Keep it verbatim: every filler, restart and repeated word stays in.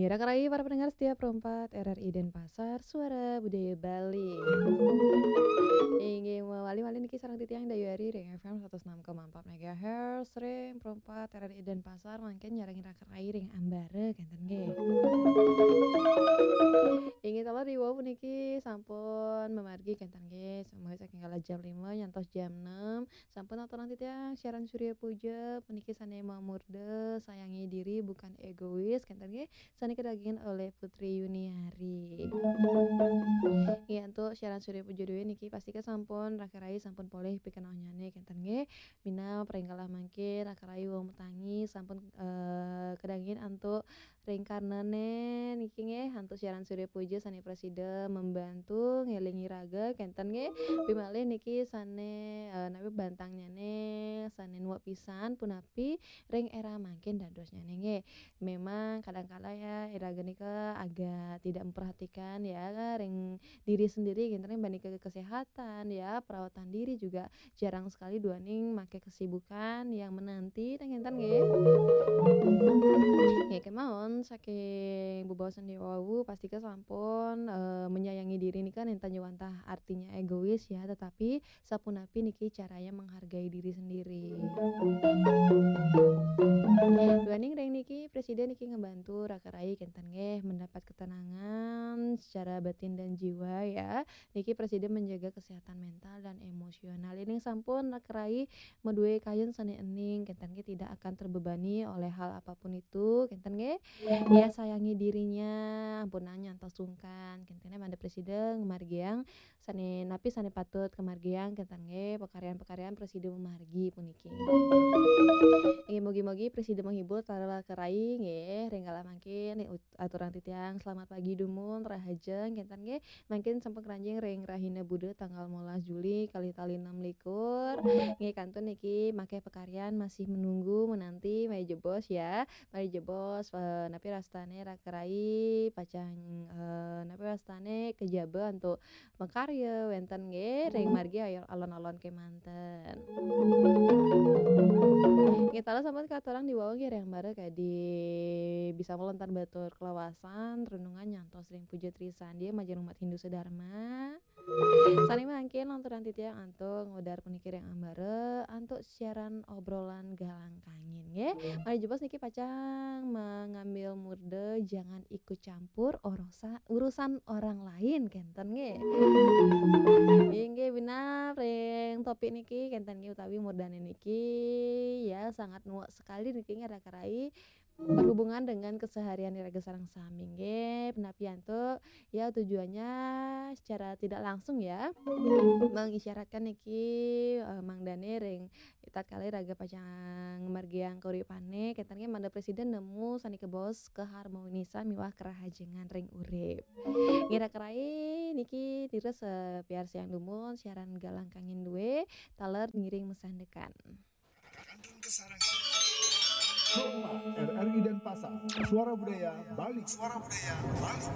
Kira-kira para pendengar setia Pro empat R R I Denpasar, Suara Budaya Bali. Inggih, mawali malih niki sareng titiang Dayu Ari ring F M satus enam koma empat megahertz ring Pro empat R R I Denpasar, mangkin nyarengin raka rai ring ambara, kenten nggih. Inggih, taler riwau puniki sampun mamargi, kenten nggih, mulai saking kala jam lima nyantos jam enam. Sampun aturang titiang siaran Surya Puja puniki sane mamurda sayangi diri bukan egois, kenten nggih, sane kadagingin oleh Putri Yuniari. Nggih, antuk siaran Surya Puja due niki pastika sampun raka rai sampun polih pikenohnyane, kenten nggih. Minab ring kala mangkin raka rai wau matangi sampun, eh, kadagingin antuk ring karnane niki nggih, antuk siaran Surya Puja sane prasida membantu ngelingi raga, kenten nggih. Pimalih niki sane, eh, napi bantangnyane sane nuwek pisan punapi ring era mangkin dadosnyane nggih. Memang kadangkala ya, iraga nika agak tidak memperhatikan ya ring diri sendiri, kenten nggih, banding ke kesehatan ya, perawatan diri juga jarang sekali duaning make kesibukan yang menanti, nenten nggih. Nggih, kemawon saking bebaosan riwau, pastika sampun, eh, menyayangi diri nika nenten wantah artinya egois ya, tetapi sapunapi niki caranya menghargai diri sendiri. Duaning ring niki, prasida niki ngebantu raka rai kenten nggih mendapat ketenangan secara batin dan jiwa ya. Niki prasida menjaga kesehatan mental dan emosional. Yening sampun raka rai madue kayun sane ening, kenten nggih, tidak akan terbebani oleh hal apapun itu, kenten nggih. Ya, sayangi dirinya, ampunang nyantos sungkan, kenten nggih, mangda prasida ngamargiang sane napi sane patut kamargiang, kenten nggih, pakaryan-pakaryan prasida mamargi puniki. Nggih, mugi-mugi prasida menghibur taler raka rai nggih, ring kala mangkin aturang titiang selamat pagi dumun, rahajeng, kenten nggih. Mangkin sampun kranjing ring rahina Buda tanggal limolas Juli kalih tali enam likur. Nggih, kantun niki make pakaryan masih menunggu, menanti, malih jebos ya. Malih jebos, eh, napi wastane raka rai pacang, eh, napi wastane kejaba antuk makarya wenten nggih ring margi alon-alon kemanten. Nggih, taler sampun katurang riwau nggih ring ambara kadi bisa melontar batur kelawasan, renungan nyantos ring puja trisandia majeng umat Hindu sedharma. Sane mangkin lanturang titiang antuk ngudar puniki ring ambara antuk siaran obrolan galang kangin nggih. Malih jebos niki pacang mengambil murda jangan ikut campur urusa-, urusan orang lain, kenten nggih. Inggih, minab ring topik niki kenten nggih utawi murdane niki ya sangat nuwek sekali niki nggih raka rai berhubungan dengan keseharian iraga sareng sami nggih. Punapi antuk ya tujuannya secara tidak langsung ya mengisyaratkan niki, eh, mangdane ring tatkala iraga pacang ngamargiang kauripane, kenten nggih, mangda prasida nemu sane kabaos keharmonisan miwah kerahajengan ring urip. Nggih raka rai niki nira sapiarsiang dumun siaran galang kangin due taler ngiring masandekan. Pro empat R R I Denpasar, Suara Budaya Bali. Suara Budaya Bali.